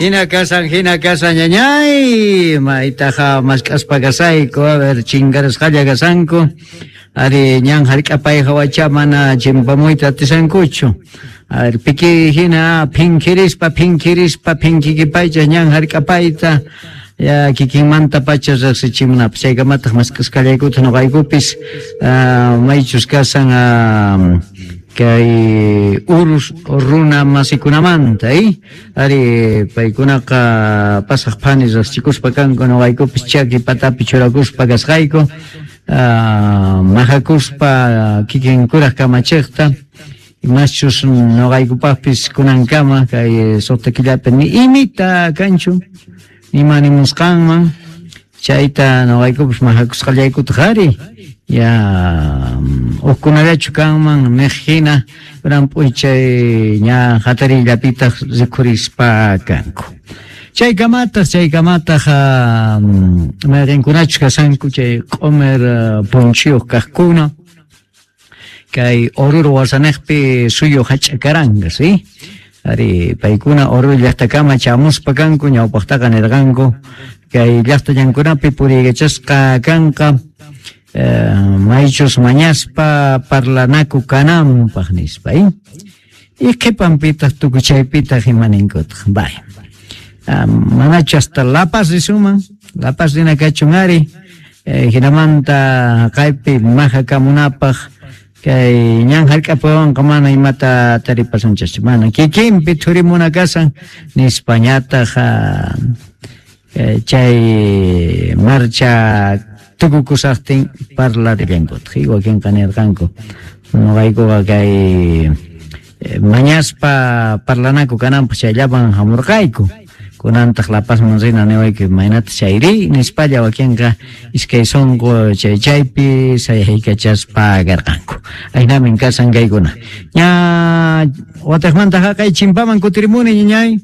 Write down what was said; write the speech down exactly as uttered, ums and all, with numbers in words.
Hina kasan, hina kasan, ñañay. Maytaja mask'aspa kasayku, a ver, chinkarasqalla kasanku. Ari ñan hark'apay hawacha mana chimpamuyta atisankuchu. A ver, piki hina phinkirispa, phinkirispa, phinkikipaycha ñan hark'apayta. Ya kikinmanta pacha riqsichimunapaq chaykamataq mask'asqallaykuta nuqaykupis uh, maychus kasan uh, kay urus runa masikunamanta eh? Ari paykunaqa pasaq phani riqsichikuspa kanku nuqaykupis chaki patapi churakuspa kasqayku uh, majakuspa kikin kuraq kamachiqta imaschus nuqaykupaqpis kunankama kay suqta killapi ni imita kanchu ima nimusqanman chayta nuqaykupis majakusqallaykutaq ari ya hukkunallachu kanman niq hina kunan p'unchay ña hatariyllapitaq rikhurispa kanku. Chaykamataq chaykamataq mayqinkunachus kasanku chay q'umir punchiyuq kaqkuna kay Oruro wasaniqpi suyu hach'akaranqa, ¿sí? Ari paykuna Oruro llaqtakama chamuspa kanku ñawpaqtaqa nirqanku kay llaqtallankunapi puriykachasqa kanqa eh, maychus mañaspa parlanaku kananpaq nispa, ¿eh? Y qhipanpitaq tukuchaypitaq imaninkutaq bay. Um, manachu hasta La Paz risuman, La Paz rina kachun ari, eh, hinamanta kaypi majakamunapaq kay ñan hark'apuwanqa mana imata taripasunchaschu, mana kikinpi thurimuna kasan nispañataq uh, chay marcha tukukusaqtin parlarillankutaq wakinqa nirqanku nuqaykuqa kay mañaspa parlanaku kananpaq chayllaman hamurqayku kunantaq La Pazman rina niwayku imaynata chayri nispalla wakinqa iskay sunqu chay chaypi sayaykachaspa karqanku. Aynamin kasan kaykuna. Ña wataqmanta haqay chimpaman kutirimuni ñañay.